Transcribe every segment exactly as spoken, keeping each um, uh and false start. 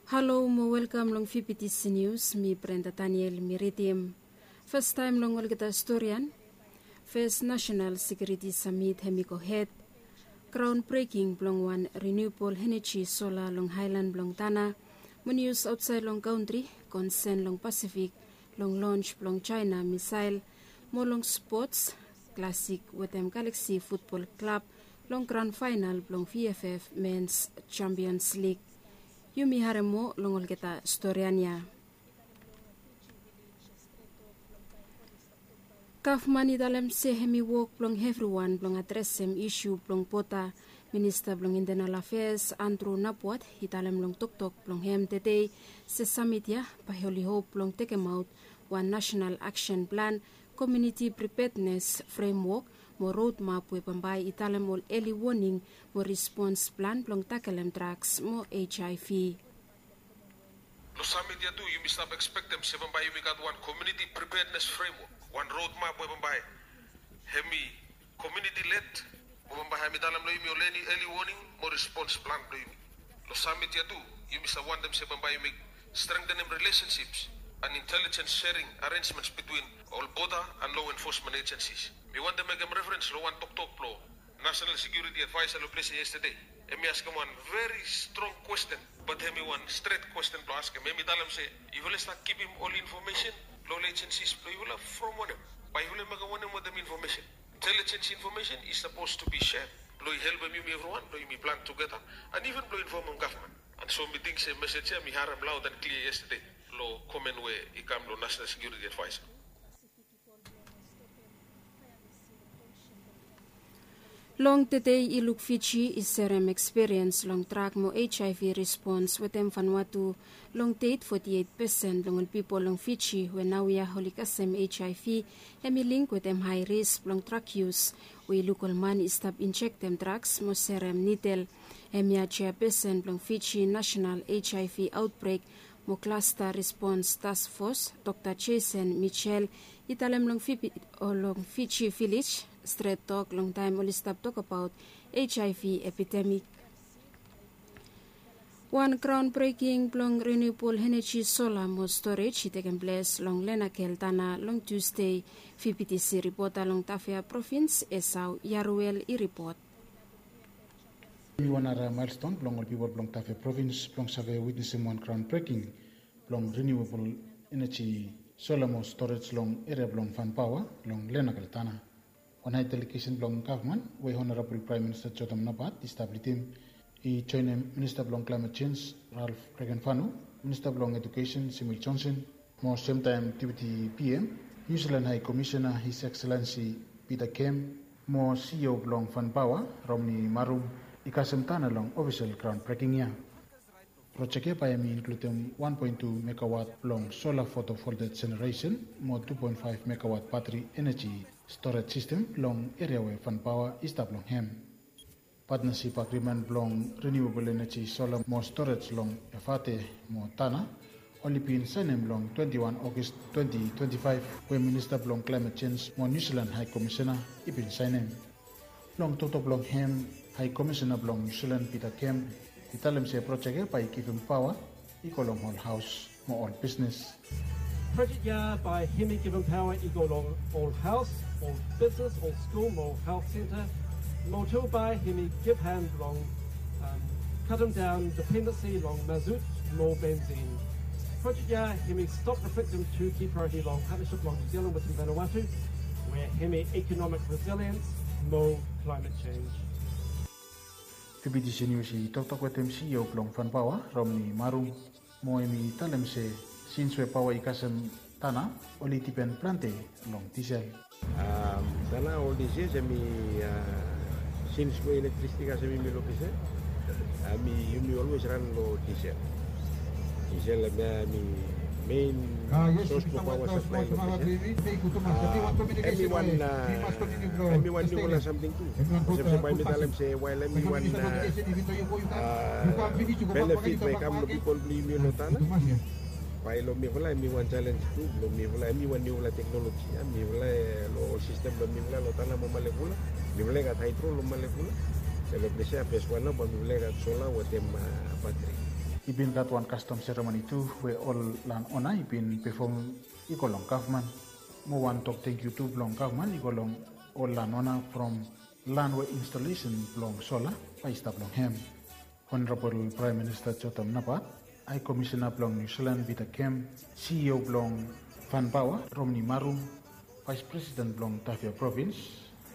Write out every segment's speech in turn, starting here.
Halo mo welkam long P P T C News, mi Brenda Daniel mi ridim. Fastaem long olgeta storian, Fes Nasenal Sekiuriti Samit hem i go hed. Graon breking blong wan riniubol eneji sola long haelan blong Tana. Mo nius aotsaed long kantri, konsen long Pasifik, long lons blong Jaena misael, mo long spots, Klasik wetem Galaksi futbol klab long gran faenal blong V F F Mens Jampions Lig. Yumi harem moa long olgeta storian ya. Gavman i talem se hem i wok blong evriwan blong adresem isu blong boda. Minista blong Intenal Afeas Andrew Napuat i talem long toktok blong hem tede se samit ya bae oli hop blong tekemaot wan nasenal aksen plan, komiuniti pripednes fremwok mo rodmap we bambae i talem ol eli woning mo respons plan blong takelem draks mo HIV. Long samit ya tu yumi stap ekspektem se bambae yumi gat wan komiuniti pripednes fremwok, wan rodmap we bambae hem i komiuniti led, mo bambae hem i talem long yumi ol eli woning mo respons plan blong yumi. Long samit ya tu yumi save wantem se bambae yumi strengtenem rilesenships and intelijens sering arenjments bitwin ol boda and lo enfosmen ejensis. Mi wantem mekem referens long wan toktok blong Nasenal Sekiuriti Advaesa long ples ya yestade. Hem i askem wan veri strong kwesten, bat hem i wan stret kwesten blong askem. Hem i talem se yufala i stap givim ol infomesen long ol ejensis blong yufala from wanem? Bae yufala i mekem wanem wetem infomesen? Intelijens infomesen i sapos tu bi sed blong i helpem yumi evriwan blong yumi plan tugeta and iven blong infomem gavman. And so mi ting se mesej ya mi harem laod and klia yestade long komen we i kam long Nasenal Sekiuriti Advaesa. Long tede i luk Fiji i serem ekspiriens long drak mo HIV respons wetem Vanuatu. Long det foti eit pesen blong ol pipol long Fiji we naoia oli kasem HIV hem i link wetem hae risk blong drak yus, we i luk ol man i stap injektem draks mo serem nidel. Hemia jeapesen blong Fiji Nasenal HIV Aotbrek mo Klasta Respons Task Fos, Dokta Jason Mitchell, i talem long Fiji Vilej stret tok long taem oli stap tokbaot HIV epidemik. Wan graon breking blong riniubol eneji sola mo storej i tekem ples long Lenakel Tana long Tusde. P P T C ripota long Tafea provins, Esau Yaruel i ripot. Hem i wan nara maelston blong ol pipol blong Tafea provins blong save witnesem wan graon breking blong riniuebol eneji sola mo storej long eria blong Fanpaoa long Lenakel Tana. Wan hae delegesen blong gavman we Honorabol Praem Minista Jotam Napat i stap lidim i joenem Minista blong Klaemet Jenj Ralph Regenvanu, Minista blong Ejukesen Samuel Johnson, mo semtaem Deputi P M, Niu Silan Hae Komisena His Excellency Peter Kem, mo C E O blong Fanpaoa Romney Marum i kasem Tana long ofisel graon breking ya. Projek ya bae hem i inkludem wan poen tu megawat blong sola fotovoltaik jeneresen mo tu poen faef megawat batri eneji storej sistem long eria we Fanpaoa i stap long hem. Patnasip agrimen blong riniuebol eneji sola mo storej long Efate mo Tana oli bin saenem long twenti wan Ogos twenti twenti faef, we Minista blong Klaemet Jenj mo Niu Silan Hae Komisena i bin saenem. Long toktok blong hem, Hae Komisena blong Niu Silan Peter Kem i talem se projek ya bae i givim paoa i go long ol haos mo ol bisnes. Projek ya bae hemi givim paoa i go long ol haos, ol bisnes, ol skul mo ol haos senta. Mo tu bae hemi givhan blong katem daon dipendensi long mazut mo bensin. Projek ya hemi stop reflektem tu ki praeoriti long patnasip blong Niu Silan wetem Vanuatu, we hemi ikonomik resiliens mo klaemet jenj. P P T C Nius i toktok wetem C E O blong Fanpaoa Romney Marum, mo hemi talem se sins we paoa i kasem Tana oli dipen plante long disel. Tana ol dis yias hemi, sins we elektrisiti i kasem yumi long disel, hemi yumi olwes ran long disel. Disel hemia hemi mein sos blong paoa saplae long disel. Hemi wan, hemi wan niufala samting tu. Olsem se bae mi talem se wael hemi wan benefit we i kam long pipol blong yumi long Tana, bae long mifala hemi wan jalenj tu blong mifala, hemi wan niufala teknoloji ya. Mifala long ol sistem blong mifala long Tana mo Malekula, mifala i gat haedro long Malekula. Be long ples ya fes wan nao bae mifala i gat sola wetem batri. I bin gat wan kastom seremoni tu we ol lan ona i bin pefom i go long gavman. Mo wan tok tangkiu tu blong gavman i go long ol lan ona from lan we instalesen blong sola bae i stap long hem. Honorabol Praem Minista Jotham Napat, Hae Komisena blong Niu Silan Pita Kem, CEO blong Vanpaoa Romni Marum, Vaes Presiden blong Tafea Provins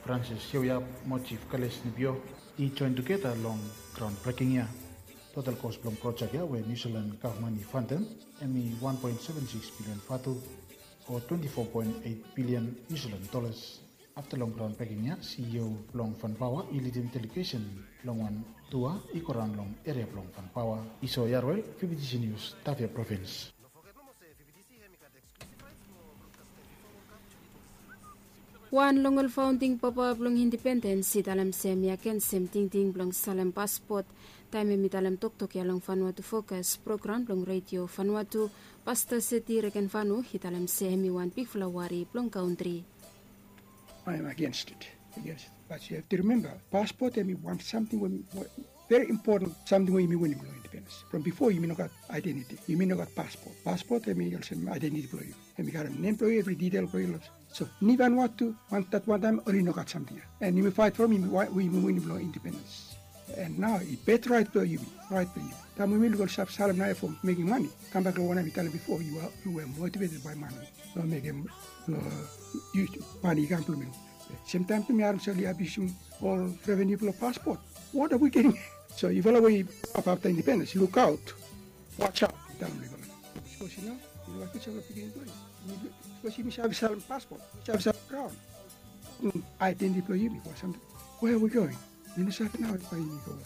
Francis Sioyap mo Jif Kales Nibio i joen tugeta long graon breking ya. Total kos blong projek ya we Niu Silan gavman i fandem hem i wan poen seven sikis bilian vatu o twenti fo poen eit bilian Niu Silan dolas. Afta long graon breking ya, CEO blong Vanpaoa i lidim delegesen long wan tua i go raon long eria blong Vanpaoa. Iso Yarwel, VBTC Nius, Tafea Provins. Wan long ol faonding papa blong indipendens i talem se hem i agensem tingting blong salem paspot taem hem i talem toktok ya long Vanuatu Fokas program blong redio Vanuatu. Pasta Seti Regenvanu i talem se hem i wan bigfala wari blong kantri. I am against it. Against it. But you have to remember, paspot hem i wan samting we, we very important samting we yumi winim long independens. From bifo yumi no gat identiti, yumi no gat paspot. Paspot hem i olsem identiti blong yu. Hem i karem nem blong yu, evri ditel blong yu long. So ni Vanuatu, wan, dat wan taem oli no gat samting ya. And yumi faet from yumi, yumi winim long independens. And nao i bet raet blong yumi, raet blong yumi. Taem yumi luk oli stap salem nao ya fo mekem mane. Kambak long wanem mi talem bifo, yu a, yu were motivated by mane. Long mekem, long, yu, mane i kam blong yu. Semtaem tu mi harem se oli abiusum ol reveniu blong paspot. What are we getting? So yufala we i stap afta independens, lukaot. Watch out, mi talem long yufala. Sapos yu no, yufala fiuja blong pikinini blong yu. Sapos yumi save salem paspot, yumi save salem graon. Aidentiti blong yumi, o samting. Where are we going? Mi no save nao bae yumi go.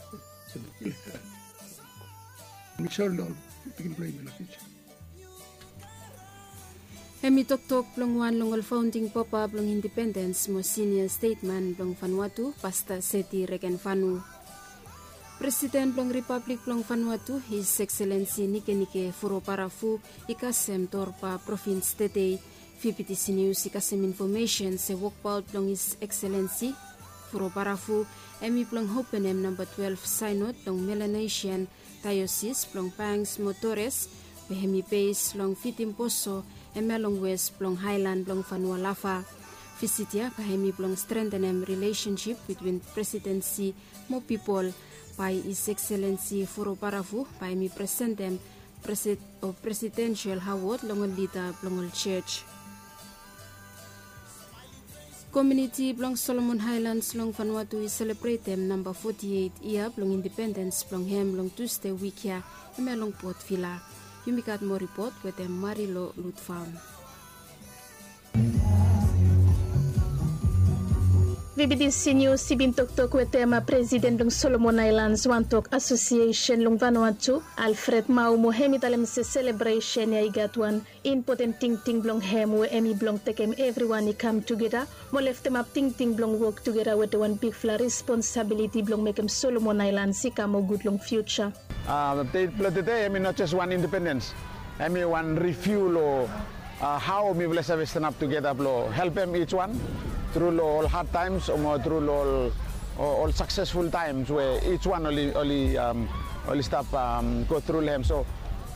Mi sori long ol pikinini blong yumi long fiuja. Hem i toktok blong wan long ol faonding papa blong indipendens mo sinia stetman blong Vanuatu, Pasta Seti Regenvanu. Presiden blong Ripablik blong Vanuatu, His Excellency Nikenike Vurobaravu, i kasem Torba provins tedei. VBTC Nius i kasem infomesen se wokbaot blong His Excellency Vurobaravu hem i blong openem namba twelef saenod blong Melanesian Daeosis blong Banks mo Torres, we hem i bes long Vitimboso, hemia long wes blong haelan blong Vanua Lava. Visit ya bae hem i blong strengtenem rilesensip bitwin presidensi mo pipol. Bae His Excellency Vurobaravu bae hem i presentem presid-, o presidensel awod long ol lida blong ol jos. Komuniti blong Solomon Aelans long Vanuatu i selebretem namba foti eit yia blong indipendens blong hem long Tusde wik ya, hemia long Port Vila. Yumi gat moa ripot wetem Marilo Lutfam. VBTC Nius i bin toktok wetem presiden blong Solomon Aelans wantok asosiesen long Vanuatu, Alfred Mao, mo hem i talem se selebresen ya i gat wan impoten tingting blong hem we hem i blong tekem evriwan i kam tugeta mo leftemap tingting blong wok tugeta wetem wan bigfala responsabiliti blong mekem Solomon Aelans i kam moa gud long fiuja. A, dei blong tede hem i no jes wan indipendens. Hem i wan riviu long, a, hao mifala i save stanap tugeta blong helpem ij wan tru long ol had taems o mo tru long ol, o, ol saksesful taems we ij wan oli, oli, am, oli stap, am, go tru long hem. So,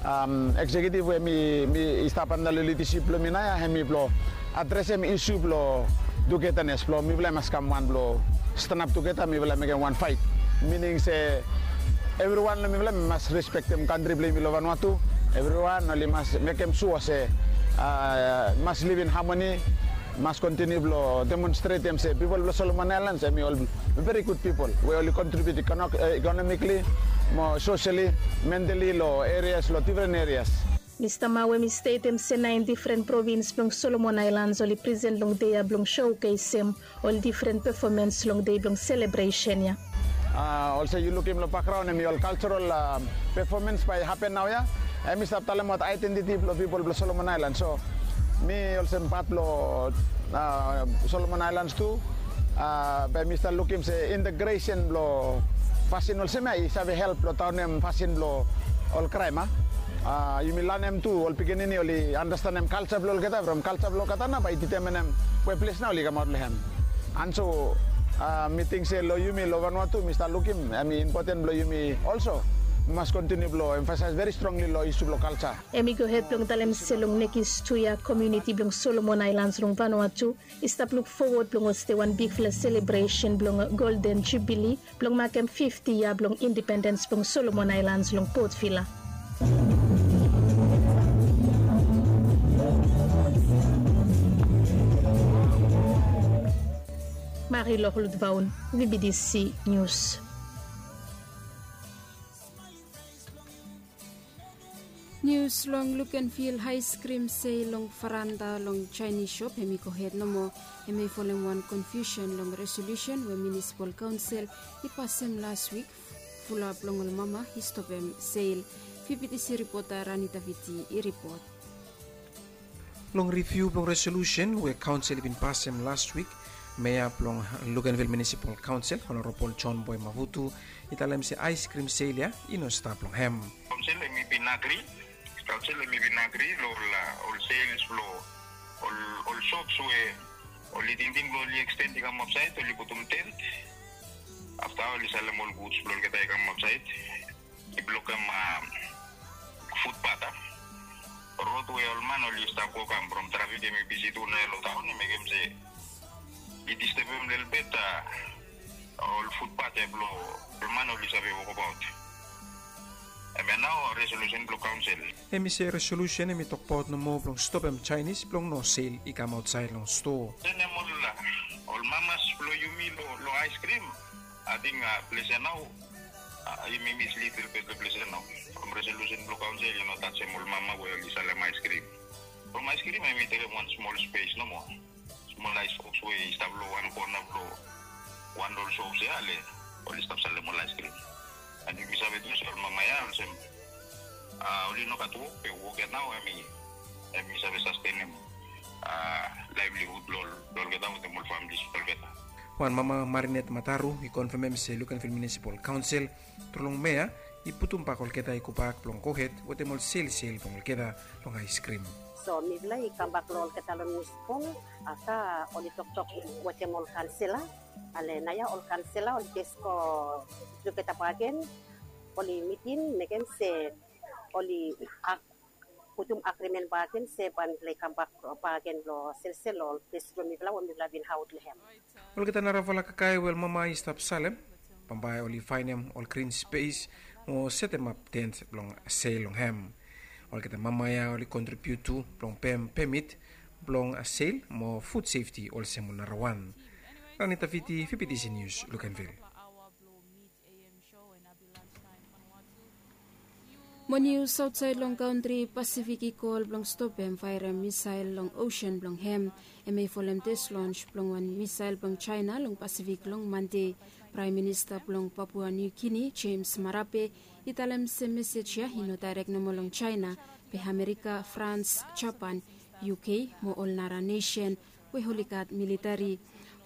am, eksekiutiv we mi, mi i stap anda long lidasip blong mi naoia, hem i blong adresem isu blong tugetanes blong mifala i mas kam wan blong stanap tugeta, mifala i mekem wan faet. Mining se evriwan long mifala i mas respektem kantri blong yumi long Vanuatu. Evriwan oli mas mekem sua se, a, mas liv in hamoni, mas kontiniu blong demonstretem se pipol blong Solomon Aelans hem i ol veri gud pipol we oli kontribiut ikono-, e, ikonomikli mo soseli, mentali long erias, long difren erias. Mista Mao hem i stetem se naen difren provins blong Solomon Aelans oli presen long dei ya blong sokesem ol difren pefomens long dei blong selebresen ya. A, olsem yu lukim long bakgraon hem i ol kaljoral, a, pefomens bae i hapen naoia. Hem i stap talemaot aedentiti blong pipol blong Solomon Aelans. So mi olsem pat blong, a, Solomon Aelans tu, a, bae mi stap lukim se integresen blong fasin olsem ya i save help blong daonem fasin blong ol kraem, a. A, yumi lanem tu ol pikinini oli andastanem kalja blong olgeta from kalja blong olgeta nao bae i ditemanem we ples nao oli kamaot long hem. And so, a, mi ting se long yumi long Vanuatu mi stap lukim hem i impoten blong yumi olso Mas kontiniu blong emfasaes veri strongli long isu blong kaltsa. Em i gohed blong talem se long nekis tu ya komuniti blong Solomon Aelans long Vanuatu i stap luk fowod blong hoste wan bigfala selebresen blong Golden Jubili blong makem fifti ya blong indipendens blong Solomon Aelans long Port Vila. Mari Loklut Vaun, V B D C News. Nius long Lukenvil aeskrim sel long faranda long Jaenis sop hem i gohed nomo. Hem i folem wan konfiusen long resolusen we munisipal kaonsel i pasem las wik. Fulap long ol mama i stopem sel. V B D C ripota Rani Daviti i ripot. Long riviu blong resolusen we kaonsel i bin pasem las wik, mea blong Lukenvil Munisipal Kaonsel, Honorabol John Boy Mavutu, i talem se aeskrim sel ya i no stap long hem. Kaonsel hem i bin agri, kaonsel hem i bin agri long ol sels blong ol sops we oli tingting blong oli eksten i kam aotsaed, oli putum tent. Afta oli salem ol guds blong olgeta i kam aotsaed. I blokem futpat a rod we ol man oli stap go kam from trafik hem i bisi tu naoia long taon i mekem se i distebem lelebet ol futpat ya blong ol man oli save wokabaot. Hemia nao resolusen blong kaonsel. Hem i se resolusen hem i tokbaot nomo blong stopem Jaenis blong no sel i kam aotsaed long stoa. Senem ol mamas blong yumi long aeskrim. Ating ples ya nao yumi mislid lelebet long ples ya nao. From resolusen blong kaonsel i no tajem ol mama we oli salem aeskrim. From aeskrim hem i tekem wan smol spes nomo. Smol aesboks we i stap long wan kona blong wan ol sops ya ale oli stap salem ol aeskrim. And yumi save tu se ol mama ya olsem oli no gat wok be wok ya nao hem i save sastenem laevlihud blong olgeta wetem ol famili blong olgeta. Wan mama Marinet Mataru i konfemem se Lukenvil Munisipal Kaonsel tru long mea i putumbak olgeta i gobak blong gohed wetem ol selsel blong olgeta long aeskrim. So mifala i kambak long olgeta long munisipal afta oli toktok wetem ol kansela. Ale naoia ol kansela oli jes go tugeta bakegen oli miting mekem se oli putum agrimen bakegen se bae mifala i kambak bakegen long selsel long ol ples blong mifala we mifala bin aot long hem. Olgeta narafala kakae we ol mama i stap salem bambae oli faenem ol grin spes mo setemap tent blong sel long hem. Olgeta mama ya oli kontribiut tu blong pem pemit blong sel mo fud sefti olsem ol narawan. Rani Daviti, V B D C Nius, Lukenvil. Mo nius aotsaed long kantri, Pasifik i kol blong stopem faerem misael long osen blong hem. Hem i folem tes lons blong wan misael blong Jaena long Pasifik long Mande. Praem Minista blong Papua Niu Gini, Jems Marape, i talem se mesej ya i no daerek nomo long Jaena, be Amerika, Frans, Japan, U K mo ol nara nesen we oli gat militeri.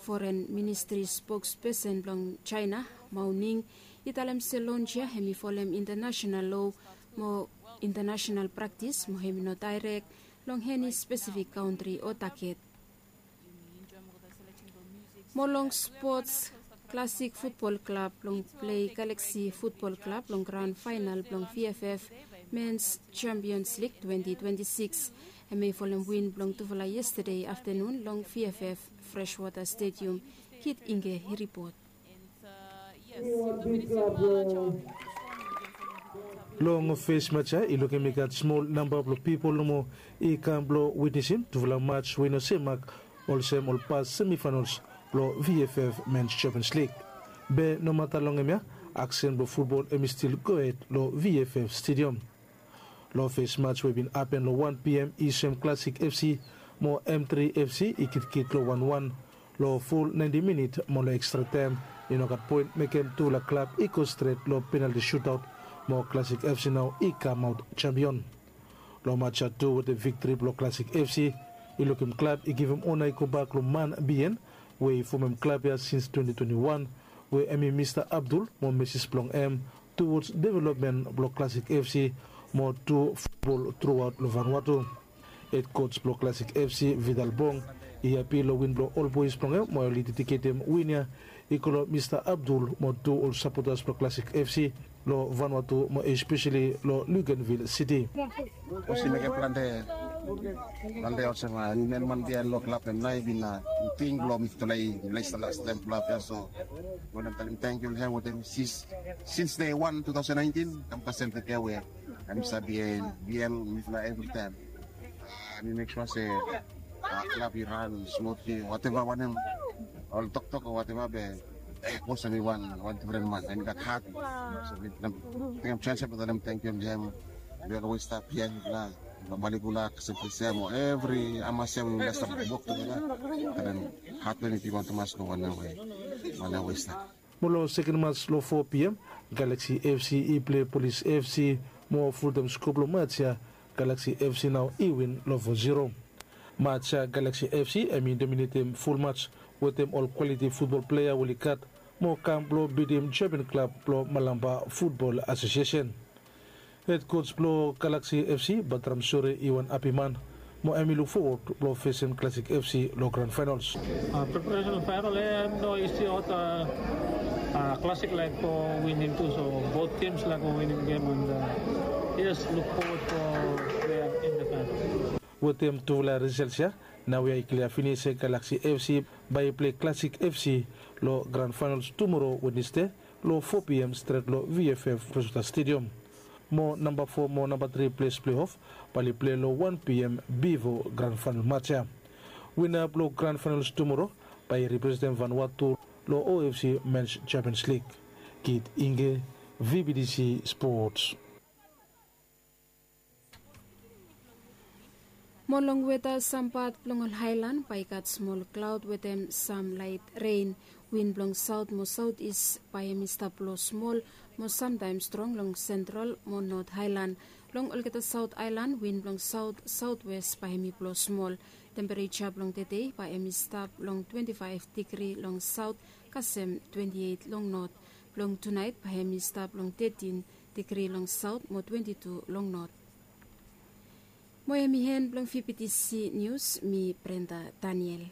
Foren Ministri spokspesen blong Jaena, Mao Ning, i talem se lons ya hem i folem intanasenal loa mo intanasenal praktis mo hem i no daerek long eni spesifik kantri o taget. Mo long spots, Klasik Futbol Klab blong plei Galaksi Futbol Klab long graon faenal blong V F F Mens Champions Lig twenti twenti sikis. Hem i folem win blong tufala yestade aftanun long V F F Freshwater Stadium. Kit Ingge i ripot. Long fes mats ya i lukim i gat smol namba blong pipol nomo i kam blong witnesim tufala mats we i no semak olsem ol pas semifaenals blong V F F Mens Champions Lig. Be nomata long hemia, aksen blong futbol hem i stil gohed long V F F Stadium. Long fes mats we i bin hapen long wan P M i soem Klasik F C mo M tri F C i kitkit long wan wan long ful naenti minit mo long ekstra taem i no gat poen mekem tufala klab i go stret long penalti sutaot mo Klasik F C nao i kamaot jampion. Long mats ya tu wetem viktri blong Klasik F C i lukim klab i givim ona i gobak long man bihaen we i fomem klab ya sins twenti twenti wan we hem i Mista Abdul mo meses blong hem tuwods developmen blong Klasik F C mo tu futbol truaot long Vanuatu. Hed koj blong Klasik F C, Vidal Bong, i hapi long win blong ol boes blong hem we oli dediketem win ya I go long Mista Abdul mo tu ol sapotas blong Classic F C long Vanuatu mo espeseli long Luganville City. Olsem i mekem plante plante olsem a niu men man biaen long klab em nao i bin a ting blong mifala i lesta last taem klab ya so. Wanem talim tangkiu long hem wetem sins day wan two thousand nineteen kam kasem tede we em i stap biaen biaen mifala evritaem. Mi mek sua se klab i ran smutli wateva wanem ol toktok o wateva be bos em i wan wan difren man em i gat hat. So mi tekem chance blong talem tangkiu long hem. Mi olwes stap hia mifala long Maligula kasem kasem o evri amas ya we mifala stap wok tugeta. Talem hat blong em i bigwan tumas long wanem we wanem we i stap. Mo long seken mas long fo pm, Galaxy F C i pilei Polis F C mo fultaem skop long mats ya Galaxy F C nao i win long fo zero. Mats ya Galaxy F C hem i dominetem ful mats wetem ol kwaliti futbol plea we oli gat mo kam blong bitim jampion klab blong Malampa Futbol Asosiesen. Hed koj blong Galaxy F C, Batram Sore, i wan hapi man mo hem i luk fowod blong fesem Classic F C long gran faenols. Preparesen faenol ya hem no isi ol Classic laek go winim tu so bot gems laek go winim gem and yes luk fowod blong plea in the faenol. Wetem tufala risals ya naoia i klia finis se Galaxy F C bae i pilei Classic F C long gran faenols tumoro Wednesde long fo pm stret long V F F Rosewater Stadium. Mo namba fo mo namba tri ples pleiof bae oli pilei long wan pm bifo gran faenol mats ya. Wina blong gran faenols tumoro bae i representem Vanuatu long O F C Mens Champions League. Kit Inge, V B T C Sports. Mo long weta, sam pat blong ol haelan bae i gat smol klaod wetem sam laet ren. Win blong saot mo saot is bae hem i stap blo smol mo samtaem strong long sentral mo not haelan. Long olgeta saot aelan win blong saot saotwes bae hem i blo smol. Tempereja blong tede bae hem i stap long twenti faef digri long saot kasem twenti eit long not. Blong tunaet bae hem i stap long tetin digri long saot mo twenti tu long not. Mo hem i hen blong V B T C nius, mi Brenda Daniel.